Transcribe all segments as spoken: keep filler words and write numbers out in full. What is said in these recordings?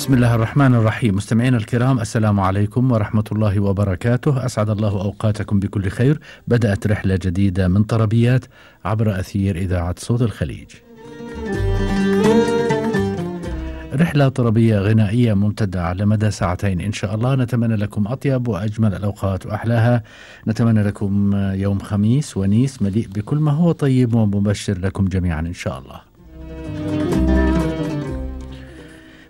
بسم الله الرحمن الرحيم. مستمعينا الكرام، السلام عليكم ورحمة الله وبركاته. أسعد الله أوقاتكم بكل خير. بدأت رحلة جديدة من طربيات عبر أثير إذاعة صوت الخليج. رحلة طربية غنائية ممتدة على مدى ساعتين إن شاء الله. نتمنى لكم أطيب وأجمل الأوقات وأحلاها. نتمنى لكم يوم خميس ونيس مليء بكل ما هو طيب ومبشر لكم جميعا إن شاء الله.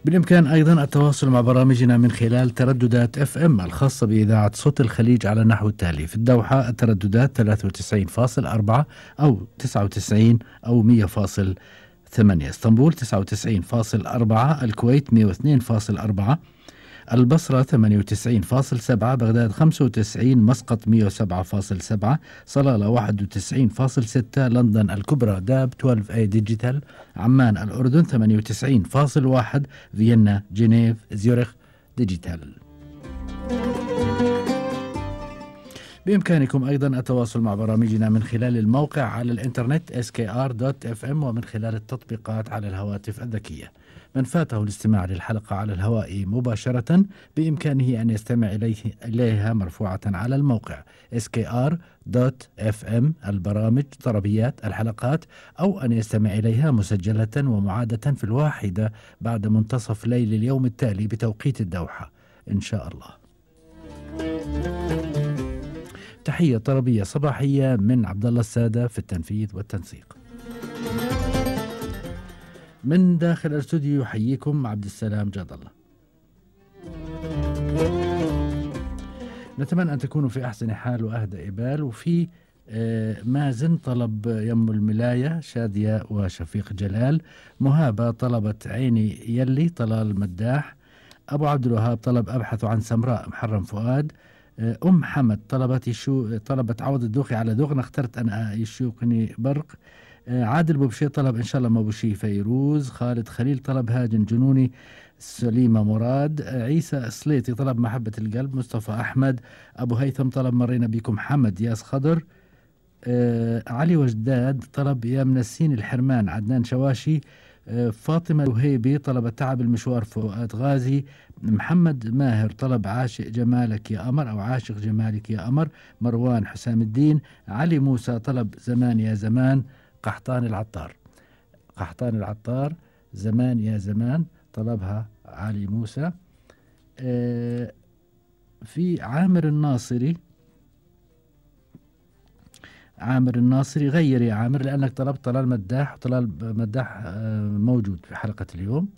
بالإمكان أيضا التواصل مع برامجنا من خلال ترددات اف ام الخاصة بإذاعة صوت الخليج على النحو التالي: في الدوحة الترددات ثلاثة وتسعين فاصلة أربعة أو تسعة وتسعين أو مية فاصلة ثمانية، اسطنبول تسعة وتسعين فاصلة أربعة، الكويت مية واثنين فاصلة أربعة، البصرة ثمانية وتسعين فاصلة سبعة، بغداد خمسة وتسعين، مسقط مية وسبعة فاصلة سبعة، صلالة واحد وتسعين فاصلة ستة، لندن الكبرى داب اثناشر اي ديجيتال، عمان الأردن ثمانية وتسعين فاصلة واحد، فيينا جنيف زيورخ ديجيتال. بإمكانكم أيضا التواصل مع برامجنا من خلال الموقع على الإنترنت إس كي آر دوت إف إم ومن خلال التطبيقات على الهواتف الذكية. من فاته الاستماع للحلقة على الهواء مباشرة بإمكانه أن يستمع إليه إليها مرفوعة على الموقع إس كي آر دوت إف إم البرامج طربيات الحلقات، أو أن يستمع إليها مسجلة ومعادة في الواحدة بعد منتصف ليل اليوم التالي بتوقيت الدوحة إن شاء الله. تحية طربية صباحية من عبد الله السادة في التنفيذ والتنسيق. من داخل الاستوديو يحييكم عبد السلام جاد الله. نتمنى أن تكونوا في أحسن حال وأهدى إبال. وفي آه مازن طلب يم الملاية شادية وشفيق جلال. مهابة طلبت عيني يلي طلال مداح. أبو عبد الوهاب طلب أبحث عن سمراء محرم فؤاد. أم حمد طلبت يشو طلبت عوض الدوخي على دوغنا اخترت أنا يشوقني برق. عادل بوبشي طلب إن شاء الله ما بوشي فيروز. خالد خليل طلب هاجن جنوني. سليمة مراد. عيسى سليتي طلب محبة القلب. مصطفى أحمد. أبو هيثم طلب مرينا بكم. حمد ياس خضر. آه علي وجداد طلب يا منسين الحرمان. عدنان شواشي. آه فاطمة وهيبي طلبت تعب المشوار. فؤاد غازي. محمد ماهر طلب عاشق جمالك يا أمر أو عاشق جمالك يا أمر. مروان حسام الدين. علي موسى طلب زمان يا زمان. قحطان العطار قحطان العطار زمان يا زمان طلبها علي موسى. آه في عامر الناصري. عامر الناصري غير يا عامر لأنك طلبت طلال مداح. طلال مداح آه موجود في حلقة اليوم.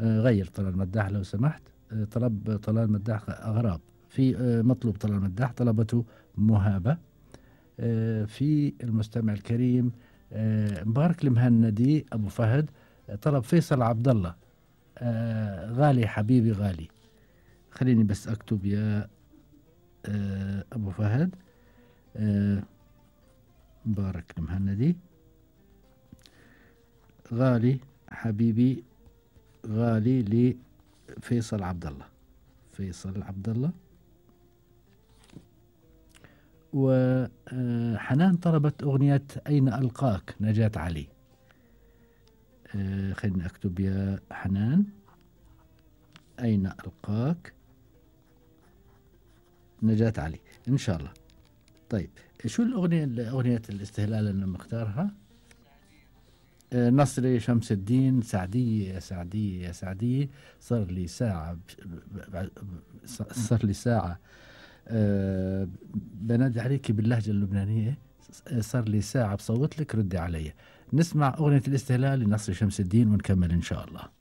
آه غير طلال مداح لو سمحت. آه طلب طلال مداح أغراب. في آه مطلوب طلال مداح طلبته مهابة. آه في المستمع الكريم آه مبارك المهندي أبو فهد طلب فيصل عبد الله. آه غالي حبيبي غالي. خليني بس أكتب يا آه أبو فهد. آه مبارك المهندي غالي حبيبي غالي لفيصل عبد الله. فيصل عبد الله. وحنان طلبت أغنية أين ألقاك نجاة علي. أه خليني أكتب يا حنان أين ألقاك نجاة علي إن شاء الله. طيب شو الأغنية أغنية الاستهلال اللي مختارها؟ أه نصري شمس الدين. سعدية يا سعدية يا سعدية. صار لي ساعة صار لي ساعة أه بنادي عليك باللهجة اللبنانية. صار لي ساعة بصوت لك ردي علي. نسمع أغنية الاستهلال لنصر شمس الدين ونكمل إن شاء الله.